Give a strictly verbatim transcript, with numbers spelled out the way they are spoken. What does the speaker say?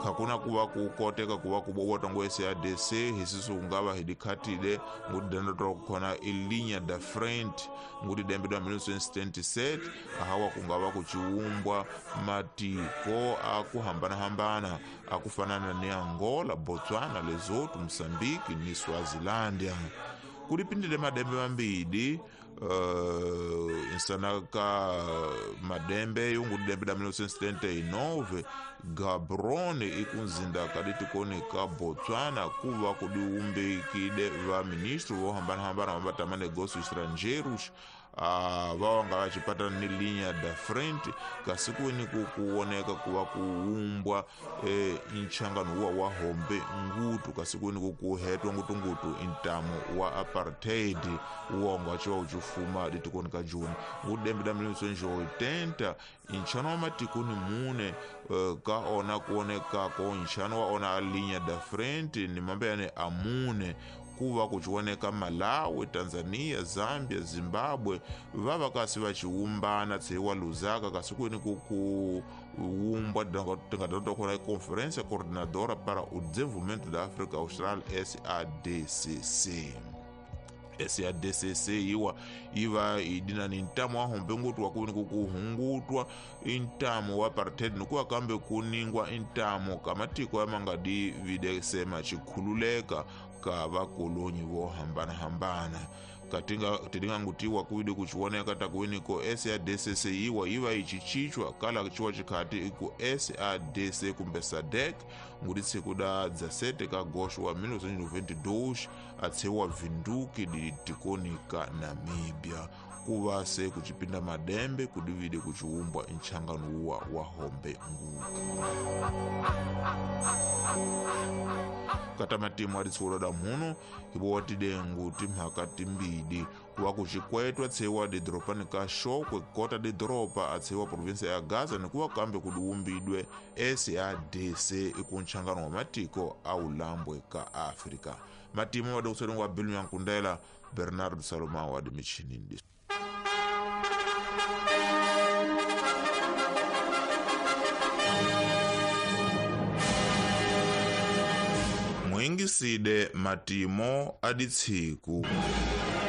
Hakuna kuva ku koteka kuva ku bobota ngo S A D C hisisu kungava hidikhatile ngudidanda khona ilinya da frente ngudidembe da mil novecentos e setenta e sete ahawa kungava kuchiumbwa matiko akuhambana-hambana akufanana ni Angola, Botswana, Lesotho, Mozambique ni Swazilandia. Kulipindile madembe mambili uh, insanaka madembe yungu dembe da mil novecentos e setenta e nove Gaborone ikunzinda kaditikoni ka Botswana kuva kudiumbikide va ministro vohambana-hambana vambatama negócios estrangeiros uh, vawanga vachipatana ni linha da frente kasi kuini kuoneka kuva kuumbwa eh, nchangano wa wa hombe ngutu kasi kuini kukuhetwa ngutungutu intamo wa apartheid uwongo achiwa uchifuma ditikoni ka Juni ngudembe da mil novecentos e oitenta inchano wa matikoni mune uh, ka ona kuonekako nchano wa ona a linha da frente ni mambe yane amune kuva kuchioneka Malawi, Tanzania, Zambia, Zimbabwe vava kasi vachiumbana tseiwa Lusaka kasi kuini kuumbwa tingatatokhona Conferência Coordenadora para o Desenvolvimento da África Austral S A D C C. S A D C C iwa iva idina ni ntamo wa hombe ngutu wa kuini kukuhungutwa intamo wa apartheid nikuwa kambe kuningwa intamo kamatiko ya mangadi videsema chikhululeka ka vakolonyi vo hambana-hambana katinga tilingangutiwa kuidi kuchioneka takuiniko S A D C C iwa iva ichichichwa kala chiwa chikhati iku S A D C kumbe SADC nguti tsiku da dezessete ka agosto wa mil novecentos e noventa e dois atseiwa Vinduki ditikoni ka Namíbia kuva se kuchipinda madembe kudivide kuchiumbwa nchangano uwa wa hombe ngutu. Kata matimu aditsulo da muno ibo watidengu timhaka timbidi kuva kuchikwetwa tseiwa didropani ka Shokwe kota didropa atseiwa provinsia ya Gaza nikuva kambe kudiumbidwe S A D C ikunchangano wa matiko a ulambwe ka Afrika. Matimu wadikusodengwa Bill Nyankundela, Bernardo Salomão wa dimichinindi. Mwingiside matimo aditsiku.